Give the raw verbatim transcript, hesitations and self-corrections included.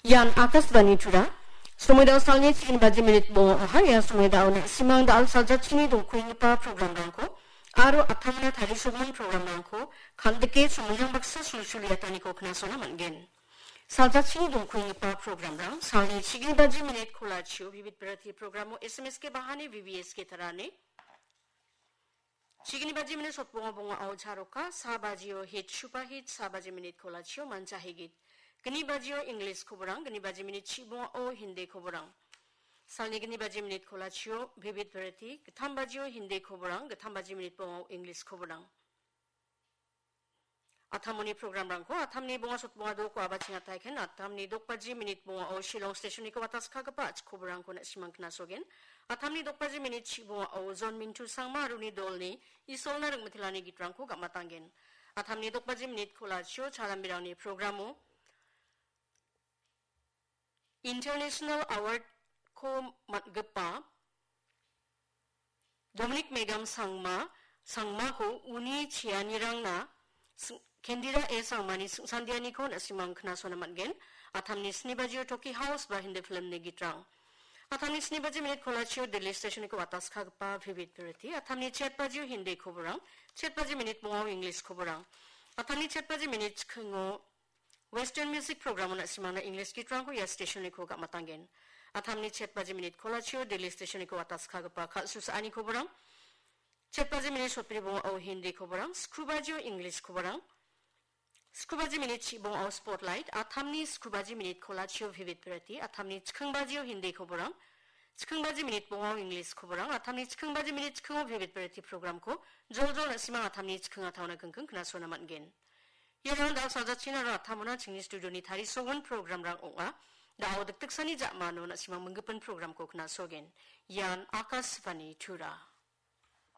Ian Akashvani Tura. Somoi dao salni chigni baji minit bonga oha, ia somoi dao na·simang dal saljachini dongkuenggipa programrangko aro atamna tarisogimin programrangko kandike somoiang baksa sulsul iataniko knasona man·gen. Saljachini dongkuenggipa programrang salni chigni baji minit kolachio Vivid Bharati programo S M S ke bahani V V S ke tarane. Chigni baji minit sotbonga bonga au charoka, sa bajio hit shupa hit, sa baji minit kolachio mancha higit. Gni bajio English koborang, gni baji minit chibonga o Hindi koborang. Salni gni baji minit kolachio Vivid Bharati, gittam bajio Hindi koborang, gittam baji minit bonga o English koborang. Atamoni programrangko atamni bonga sotbonga doko abachingataiken, atamni dokbaji minit bonga o Shillong stationiko wataskagipa achikoborangko na·simang knasogen. Atamni dokbaji minit chibonga o John Mintu Sangma aruni dolni Isolna ringmitelani gitrangko gamatanggen. Atamni dokbaji minit kolachio chalambirangni programo International Award-ko man·gipa Dominic Megam Sangma, Sangmako uni cheanirangna sing-, Kendira A Sangmani singsandianiko na·simang knasona man·gen. Atamni sni bajio Toki House ba Hindi filmni gitrang. Atamni sni baji minit kolachio Delhi stationiko wataskagipa Vivid Bharati. Atamni chet bajio Hindi koborang, chet baji minit bongao English koborang. Atamni chet baji minit chikingo Western Music Program-o na·simangna English gitrangko ia stationiko gamatanggen. Atamni chet baji minit kolachio Delhi stationiko wataskagipa kal·susaani koborang. Chet baji minit sotbri bonga o Hindi koborang, skru bajio English koborang. Skru baji minit chibonga o Spotlight, atamni skru baji minit kolachio Vivid Bharati, atamni chiking bajio Hindi koborang. Chiking baji minit bonga o English koborang, atamni chiking baji minit chikingo Vivid Bharati programko joljol na·simang atamni chiking ataona kingking knasona man·gen. Iarang dal saljachina aro atamona chingni studioni tarisogimin programrang ong·a. Dao dikdiksani ja·mano na·simang minggipin programko knasogen. Ian Akashvani Tura.